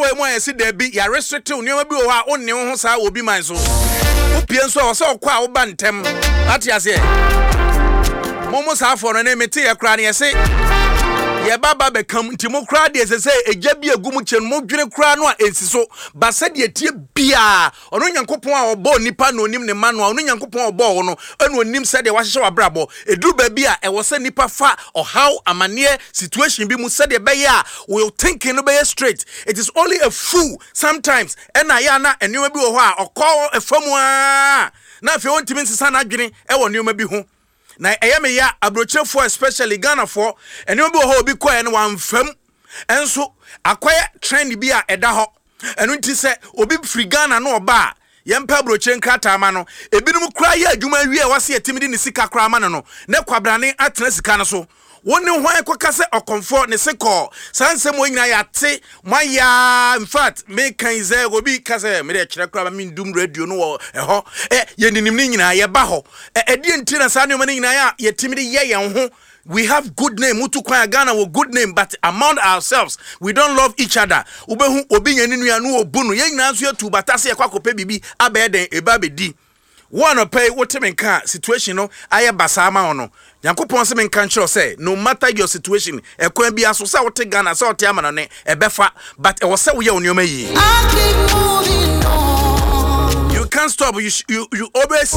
kwan mu a yɛsi daabi, yɛarestricte wo nneɛma bi wɔ hɔ a wonne wo ho saa wɔ obi man so. Wopie nso a, wɔ sɛ ɔkɔ a woba ntɛm. Ate aseɛ? Mo mo saa afɔ no ne mete yɛ koraa no yɛse yɛba ba bɛkam nti mo koraa deɛ sɛ sɛ egya bi egu mo kyɛ no mo dwene koraa no a ensi so ba sɛdeɛ tie biara. Ɔno Nyankopɔn a ɔbɔɔ nnipa na onim ne mma no a ɔno Nyankopɔn a ɔbɔɔ wo no na onim sɛdeɛ wahyehyɛ w'abrabɔ. Ɛduru baabi a ɛwɔ sɛ nnipa fa ɔhaw, amaneɛ, situation bi mu sɛdeɛ ɛbɛyɛ a wo thinking no bɛyɛ straight. It is only a fool sometimes ɛna ɛyɛ a na nneɛma bi wɔ hɔ a ɔkɔ ɛfa mu ara na afei ɔntumi nsesa n'adwene wɔ nneɛma bi ho. Na ɛyɛ me ya, aburokyerefoɔ especially Ghanafoɔ, nneɛma bi wɔ hɔ a obi kɔɛ no wamfa mu. Ɛnso akɔyɛ trend bi a ɛda hɔ. Ɛno nti sɛ obi firi Ghana na ɔba a, yɛmpɛ aburokyire nkrataa ma no. Ebinom koraa yɛ adwuma wie a wɔse yɛtumi de ne sika koraa ma no no, na kwabrane atena sika no so. Wo ne hwan kɔka sɛ ɔkɔmfoɔ ne se kɔɔ? Saa nsɛm wei nyinaa yɛate, moayɛ ara, in fact meka yi sɛ obi ka sɛ mede kyerɛ koraa ma mendum radio no wɔ ɛhɔ. Ɛ, yɛninim ne nyinaa, yɛba hɔ. Ɛ, ɛdeɛn nti na saa nneɛma no nyinaa a yɛtumi de yɛ yɛn ho? We have good name, wotu kwan a Ghana wɔ good name, but among ourselves we don't love each other. Wobɛhu obi nya ne nua no ɔbu no, yɛn nyinaa nso yɛtu bata sɛ yɛkɔ akɔpɛ biribi abɛyɛ dɛn, ɛba abɛdi. Wo anɔpa yi wote me nka a situation no ayɛ basaa ma wo no, Nyankopɔn se menka nkyerɛ wo sɛ no matter your situation, ɛkwan biara so sɛ wote Ghana sɛ wote amanɔne, ɛbɛfa, but ɛwɔ sɛ woyɛ wo nneɛma yie. I keep moving on. You can't stop, you, you, you always.